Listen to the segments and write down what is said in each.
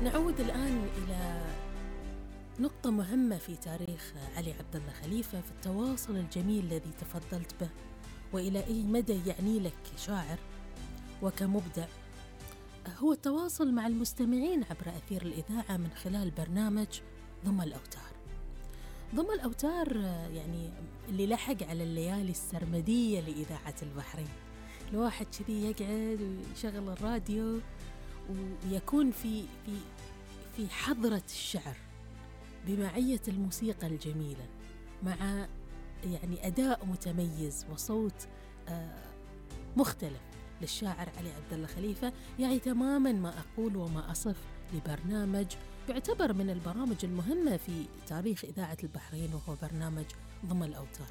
نعود الآن إلى نقطة مهمة في تاريخ علي عبد الله خليفة في التواصل الجميل الذي تفضلت به، وإلى أي مدى يعني لك كشاعر وكمبدع هو التواصل مع المستمعين عبر أثير الإذاعة من خلال برنامج ضم الأوتار. ضم الأوتار يعني اللي لحق على الليالي السرمدية لإذاعة البحرين، الواحد كذي يقعد ويشغل الراديو ويكون في حضرة الشعر بمعية الموسيقى الجميلة، مع يعني أداء متميز وصوت مختلف للشاعر علي عبد الله خليفة. يعني تماما ما أقول وما أصف لبرنامج يعتبر من البرامج المهمة في تاريخ إذاعة البحرين، وهو برنامج ضم الأوتار.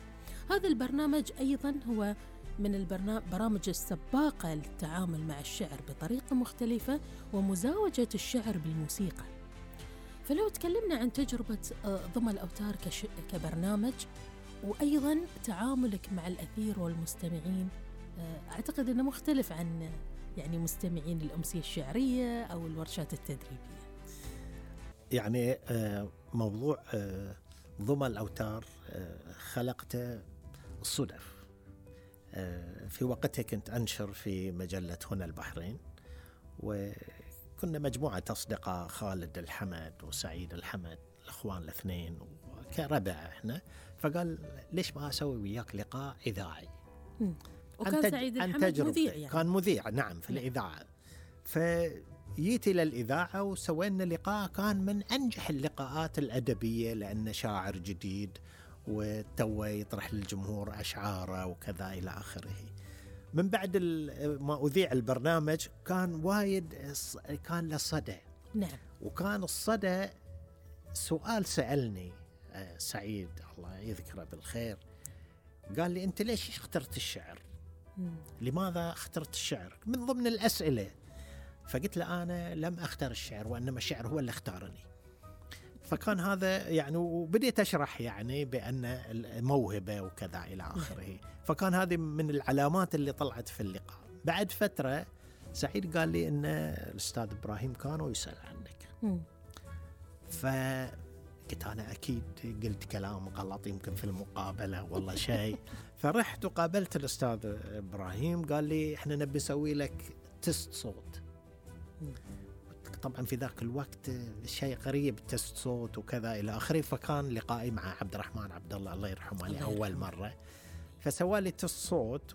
هذا البرنامج أيضا هو من البرامج السباقة للتعامل مع الشعر بطريقة مختلفة ومزاوجة الشعر بالموسيقى. فلو تكلمنا عن تجربة ضم الأوتار كبرنامج، وأيضا تعاملك مع الأثير والمستمعين، أعتقد أنه مختلف عن يعني مستمعين الأمسية الشعرية أو الورشات التدريبية. يعني موضوع ضم الأوتار خلقته الصدف. في وقتها كنت أنشر في مجلة هنا البحرين، وكنا مجموعة أصدقاء، خالد الحمد وسعيد الحمد، الأخوان الاثنين وكربع إحنا. فقال ليش ما أسوي وياك لقاء إذاعي؟ وكان سعيد الحمد مذيع يعني. كان مذيع نعم في الإذاعة. فجيت إلى الإذاعة وسوينا لقاء كان من أنجح اللقاءات الأدبية، لأنه شاعر جديد وتوه يطرح للجمهور أشعاره وكذا إلى آخره. من بعد ما أذيع البرنامج كان وايد، كان له صدى. نعم. وكان الصدى سؤال سألني سعيد الله يذكره بالخير، قال لي أنت ليش اخترت الشعر؟ لماذا اخترت الشعر من ضمن الأسئلة؟ فقلت له أنا لم أختار الشعر، وإنما الشعر هو اللي اختارني. فكان هذا يعني، وبديت أشرح يعني بأن الموهبة وكذا إلى آخره. فكان هذه من العلامات اللي طلعت في اللقاء. بعد فترة سعيد قال لي أن الأستاذ إبراهيم كانوا يسأل عنك. فقلت أنا أكيد قلت كلام غلط يمكن في المقابلة والله شيء. فرحت وقابلت الأستاذ إبراهيم، قال لي إحنا نبي نسوي لك تست صوت. طبعا في ذاك الوقت شيء غريب، تست صوت وكذا إلى آخره. فكان لقائي مع عبد الرحمن عبد الله يرحمه لأول مرة، فسوى لي تست صوت